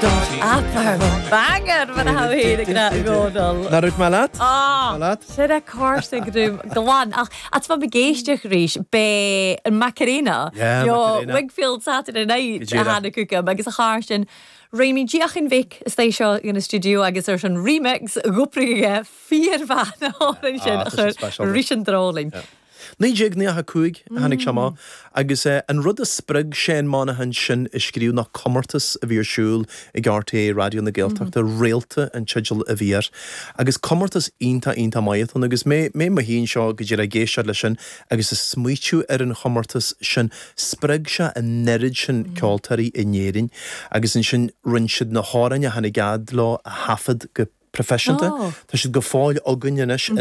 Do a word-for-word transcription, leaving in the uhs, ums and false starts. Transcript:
Upper banger mar a hé Ná mé leat? leat? Sé a cársa grúm glan ach at fa géisteach ríis bé an Macarena Yeah, Jo Macarena. Wakefield Saturday Night Go a díreach. hána cúcam agus a char sin Réimí Díachan Vic is é seo in studio agus ar an remix gúpra fíormhaith an sin Ah, tá sin speisialta. rí an dróling. Naoi déag nócha cúig tháinig sé amach agus eh, an rud a spreag Shane Monaghan sin a scríobh ná comórtas a bhí ar siúl ag RTÉ Raidió na Gaeltachta réalta an teideal a bhí air. agus comórtas iontach iontach maith agus mé mé mo híon seo go dtí a géistead leis sin agus is smaoitiú ar an chomórtas sin spreag sé an oiread sin ceoltóirí in Éirinn agus ansin rinne siad na hamhráin a tháinig leo a thaifead go proifisiúnta. Oh. Tá siad go fóill againn anois